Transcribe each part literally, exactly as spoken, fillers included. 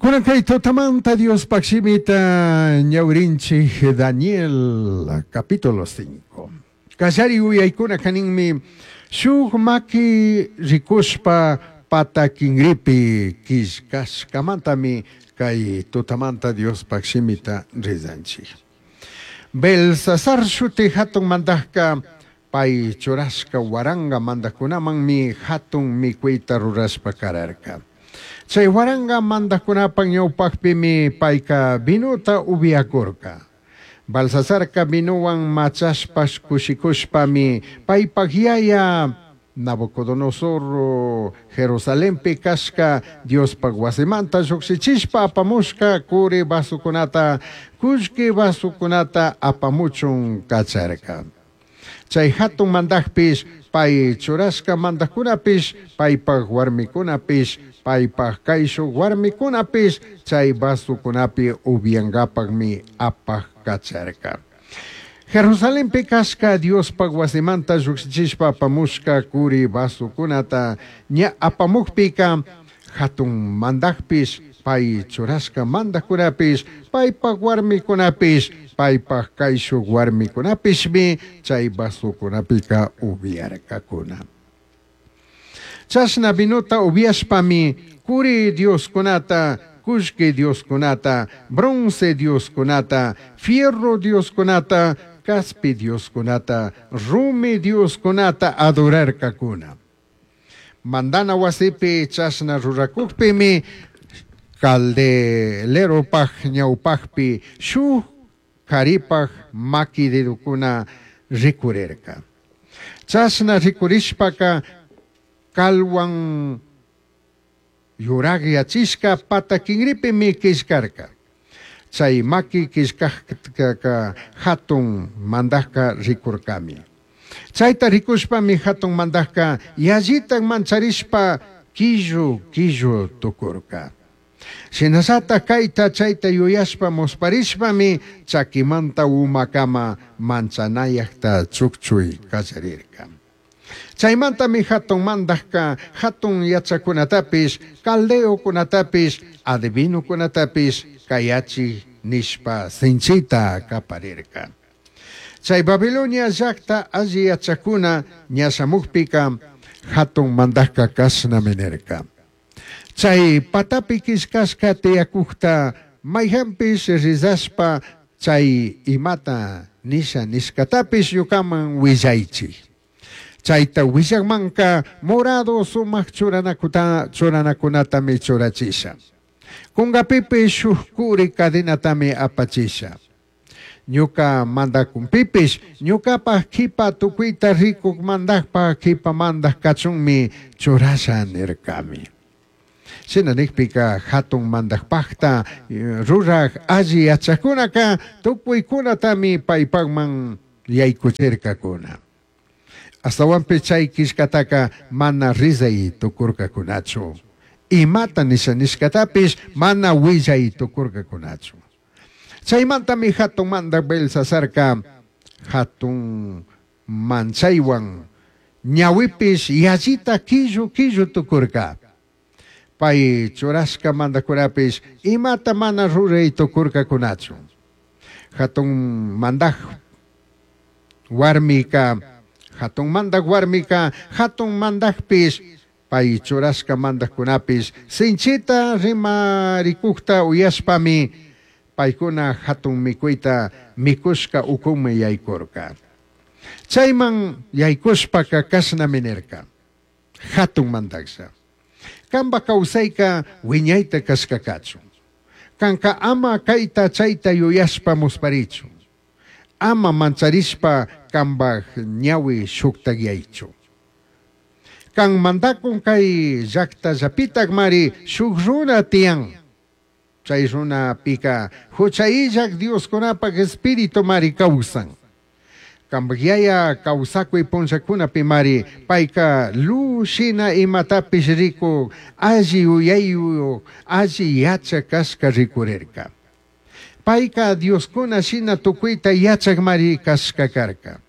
Kunan kay tutamanta Diospaj shimita ñawrinchik Daniel capítulo cinco. Kallari uyaykuna kaninmi shuk maki rikushpa pata kinripi killkashkamantami kay tutamanta Diospaj shimita rizanchik. Belsasar shuti hatun mandajka pay churashka waranga mandajkunamanmi hatun mikuyta rurashpa kararka. Chay waranga mandajkunapaj ñawpajpimi payka vinuta upiakurka. Balsasarka vinuwan machashpash kushikushpami paypaj yaya Nabucodonosor Jerusalenpi kashka Diospaj wasimanta llukshichishpa apamushka kuri vasukunata kullki vasukunata apamuchun kacharka. Chay hatun mandajpish pay churashka mandajkunapish paypaj warmikunapish paypaj kayshuk warmikunapish chay vasukunapi upiankapakmi apaj kacharka. Jerusalenpi kashka Diospaj wasimanta llukshichishpa apamushka kuri vasukunata ña apamukpika hatun mandajpish pay churashka mandajkunapish paypaj warmikunapish paypaj kayshuk warmikunapishmi chay vasukunapika upiarkakuna. Chashna vinuta upiashpami kuri dioskunata kullki dioskunata bronce dioskunata fierro dioskunata kaspi dioskunata rumi dioskunata adorarkakuna. Mandana wasipi chashna rurakukpimi caldeleropaj ñawpajpi shuk karipaj maki dedukuna rikurirka. Chashna rikurishpaka kalwan yuragyachishka pata kinripimi killkarka. Chay maki killkajka hatun mandajka rikurkami. Chayta rikushpami hatun mandajka yallitak mancharishpa killu killu tukurka. Shinallata kayta chayta yuyashpa musparishpami chakimanta umakama manchanayakta chukchuy kallarirka. Chaymantami hatun mandajka hatun yachakunatapish caldeokunatapish adivinukunatapish kayachi nishpa sinchita kaparirka. Chay Babilonia llakta alli yachakuna ña shamukpika hatun mandajka kashnami nirka. Chay patapi killkashka tiyakukta mayhanpish rizashpa chay imata nisha nishkatapish ñukaman willaychik. Chayta willakmanka morado sumak churanakuta churanakunatami churachisha. Kunkapipish shuk kuri cadenatami apachisha. Ñuka mandakunpipish ñukapaj kipa tukuyta rikuk mandajpaj kipa mandaj kachunmi churasha nirkami. Shina nikpika hatun mandajpajta ruraj alli yachakunaka tukuykunatami paypakman yaykuchirkakuna. Astawanpish chay killkataka mana rizay tukurkakunachu. Imata nisha nishkatapish mana willay tukurkakunachu. Chaymantami hatun mandaj Belsasarka hatun manchaywan ñawipish yallita killu killu tukurka. Pay churashka mandajkunapish imata mana ruray tukurkakunachu. Hatun mandaj warmika hatun mandaj warmika hatun mandajpish pay churashka mandajkunapish sinchita rimarikukta uyashpami paykuna hatun mikuyta mikushka ukumi yaykurka. Chayman yaykushpaka kashnami nirka. Hatun mandajlla. Kanpa kawsayka wiñayta kashka kachun. Kanka ama kayta chayta yuyashpa musparichu. Ama mancharishpa kanpaj ñawi shuktakyaychu. Kan mandakun kay llaktallapitakmari shuk runa tiyan. Chay runapika hucha illak Dioskunapak espíritu mari kawsan. Kanpak yaya kawsakuy punllakunapi mari payka luz shina imatapish rikuk alli yuyayuk alli yachak kashka rikurirka. Payka Dioskuna shina tukuyta yachak mari kashka karka.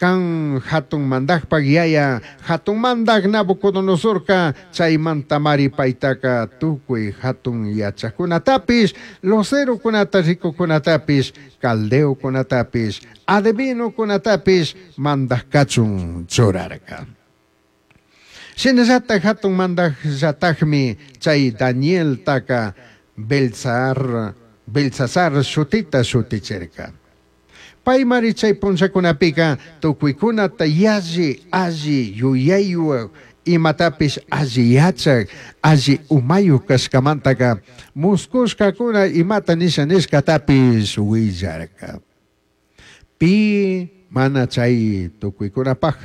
Kan hatun mandajpak yaya, hatun mandaj Nabucodonosorka, chaymantamari paitaka tukuy hatun yachakunatapish, lucerokunata rikukunatapish, caldeokunatapish, adivinokunatapish mandaj kachun churarka. Shinallatak hatun mandajllatakmi chay Danieltaka Beltsar, Beltsasar shutita shutichirka. Paymari chay punllakunapika tukuykunata yalli alli yuyaywan imatapish alli yachak, alli umayuq kashkamantaka muskushkakuna imata nisha nishkatapish willarka. Pi mana chay tukuykunapaj,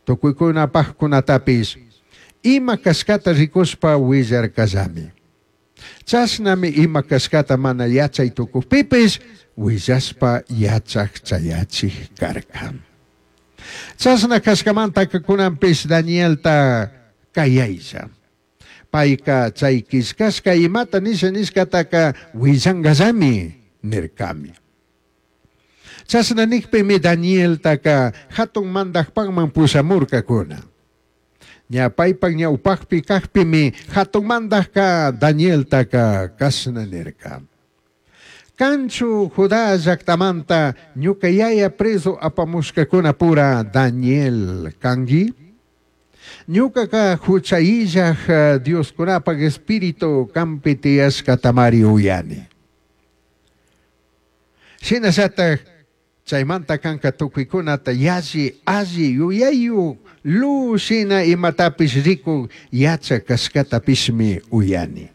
tukuykunapajkunatapish ima kashkata rikushpa willarkallami. Chashnami ima kashkata mana yachay tukukpipish willashpa yachak chayachik karka. Chashna kashkamantaka kunanpish Danielta kayaylla. Payka chay killkashka imata nisha nishkataka willankallami nirkami. Chashna nikpimi Danieltaka hatun mandajpakman pushamurkakuna. Ña paypak ñawpakpi kakpimi hatun mandajka Danieltaka kashna nirka. Kanchu Judá llaktamanta ñuka yaya preso apamushkakunapura Daniel kanki? Ñukaka huchayillaj Dioskunapak espíritu kanpi tiyashkatamari uyani. Shinallatak chaymanta kanka tukuykunata yalli alli yuyayuk luz shina imatapish rikuk yachak kashkatapishmi uyani.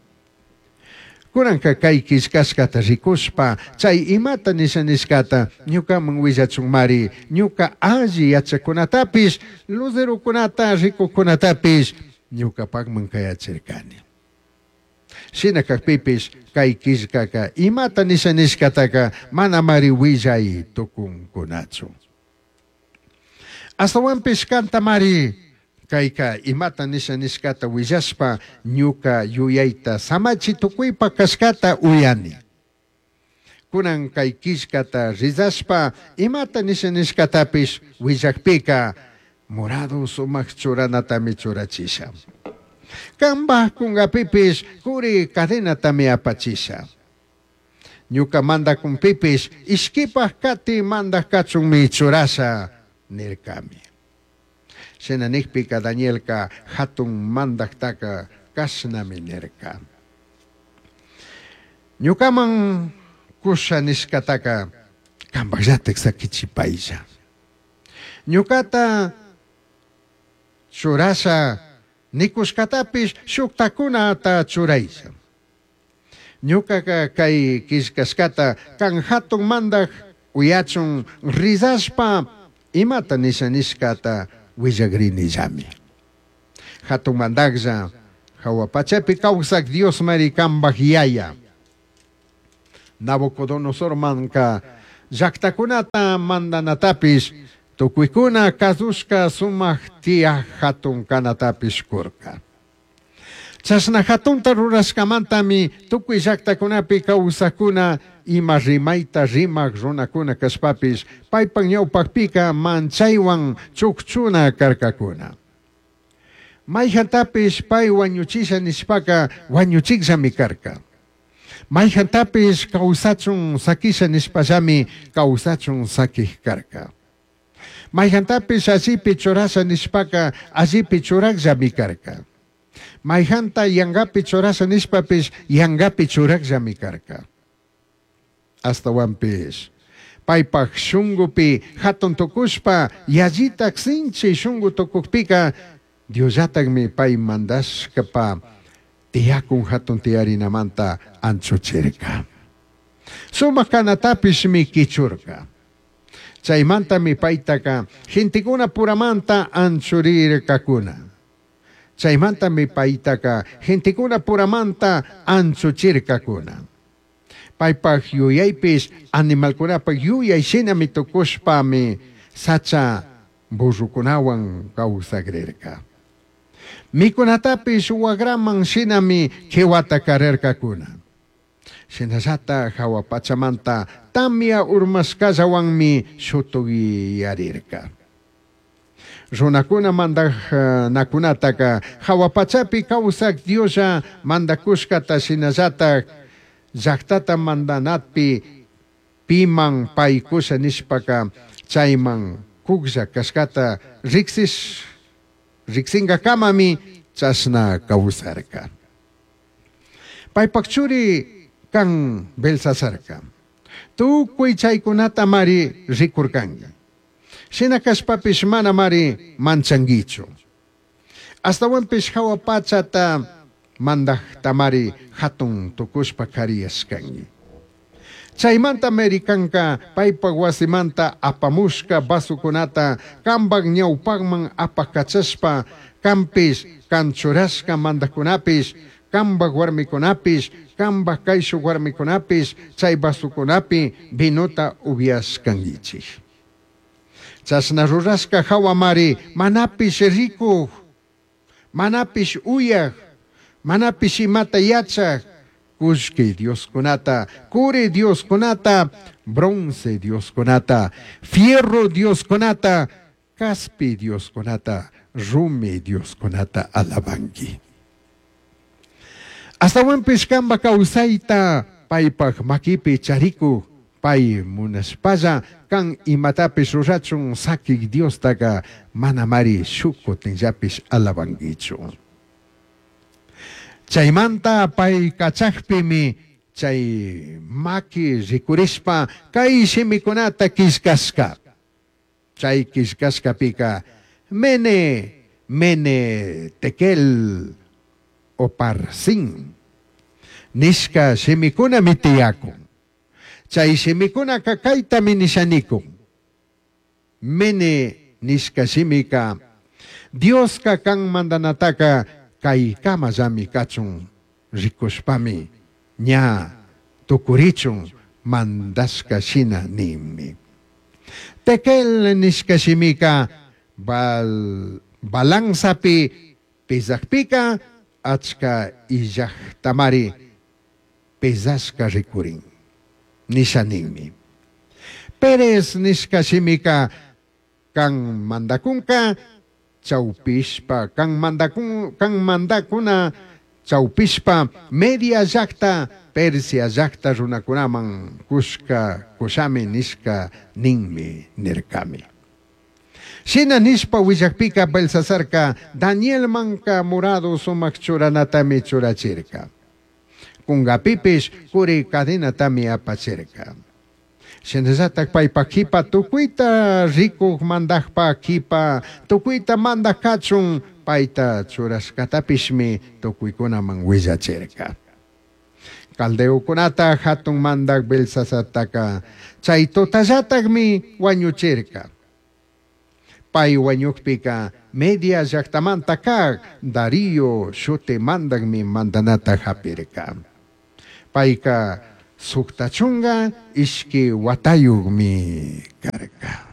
Kunanka kay killkashkata rikushpa chay imata nisha nishkata ñukaman willachunmari ñuka alli yachakunatapish lucerokunata rikukunatapish ñukapakman kayachirkani. Shina kakpipish kay killkaka imata nisha nishkataka manamari willay tukunkunachu. Astawanpish kantamari kayka imata nisha nishkata willashpa ñuka yuyayta samachi tukuypa kashkata uyani. Kunan kay killkata rizashpa imata nisha nishkatapish willakpika morado sumak churanatami churachisha. Kanpaj kunkapipish kuri cadenatami apachisha. Ñuka mandakunpipish ishkipaj kati mandaj kachunmi churasha nirkami. Shina nikpika Danielka hatun mandajtaka kashnami nirka. Ñukaman kusha nishkataka kanpakllatak sakichipaylla. Ñukata churasha nikushkatapish shuktakunata churaylla. Ñukaka kay killkashkata kan hatun mandaj uyachun rizashpa imata nisha nishkata willagrinillami. Hatun mandajlla hawa pachapi kawsak Dios mari kanpaj yaya. Nabucodonosor manka llaktakunata mandanatapish tukuykuna kasushka sumak tiyaj hatun kanatapish kurka. Chashna hatunta rurashkamantami tukuy llaktakunapi kawsakuna ima rimayta rimak runakuna kashpapish paypak ñawpakpika manchaywan chukchuna karkakuna. Mayjantapish pay wañuchisha nishpaka wañuchikllami karka. Mayjantapish kawsachun sakisha nishpallami kawsachun sakik karka. Mayjantapish allipi churasha nishpaka allipi churakllami karka. Mayjanta yangapi churasha nishpapish yangapi churakllami karka. Astawanpish paypak shunkupi hatun tukushpa yallitak sinchi shunku tukukpika Diosllatakmi pay mandashkapa tiyakun hatun tiyarinamanta anchuchirka. Sumak kanatapishmi kichurka. Chaymantami paytaka gentekuna puramanta anchurirkakuna. Chaymantami paytaka gentekuna puramanta anchuchirkakuna. Paypak yuyaypish animalkunapak yuyay shinami tukushpami sacha burrukunawan kawsakrirka. Mikunatapish wagraman shinami kiwata karirkakuna. Shinallata jahua pachamanta tamia urmashcallahuanmi shutuyarirca. Runacuna mandajnacunataca jahua pachapi causaj Dioslla mandacushcata shinallataj llajtata mandanapi piman pai cusha nishpaca chaiman cujlla cashcata rijsish rijsingacamami chashna causarca. Paipaj churi can Belsasarca. Tucui chaicunatamari ricurcangui. Shina cashpapish manamari manchanguichu. Ashtahuanpish jahua pachata mandajtamari jatun tucushpa cariyashcangui. Chaimanta Mericanca paipaj huasimanta apamushca vasocunata cambaj ñaupajman apacachashpa canpish can churashca mandajcunapish cambaj huarmicunapish cambaj caishuj huarmicunapish chay vasocunapi vinota ubyashcanguichij. Chashna rurashca jahuamari manapish ricuj, manapish uyaj, manapish imata yachaj, cullqui dioscunata, curi dioscunata, bronce dioscunata, fierro dioscunata, caspi dioscunata, rumi dioscunata alabangui. Ashtahuanpish camba causaita paipaj maquipi charicuj pai munashpalla can imatapish rurachun saquij Diostaca manamari shuj cutinllapish alabanguichu. Chaimanta pai cachajpimi chay maqui ricurishpa cai shimicunata quillcashca. Chay quillcashcapica mene, mene, tekel, oparsin nishca shimicunami tiyacun. Chay shimicunaca caitami nishanicun. Mene nishca shimica Diosca can mandanataca caicamallami cachun ricushpami ña tucurichun mandashca shina ninmi. Tekel nishca shimica bal, balanzapi pesajpica achca illajtamari pesashca ricurin nisha ninmi. Pérez nishca shimica can mandacunca chaupishpa can mandacun can mandacuna chaupishpa media llajta Persia llajta runacunaman cushca cushami nishca ninmi nircami. Shina nishpa huillajpica Belsasarca Danielmanca morado sumaj churanatami churachirca. Cungapipish curi cadenatami apachirca. Shinallataj paipa quipa tucuita ricuj mandajpa quipa tucuita mandaj cachun paita churashcatapishmi tucuicunaman huillachirca. Caldeocunata jatun mandaj Belsasartaca chay tutallatajmi huañuchirca. Pai huañujpica media llajtamanta caj Darío shuti mandajmi mandanata japirca. Paica sucta chunga ishqui huatayujmi carca.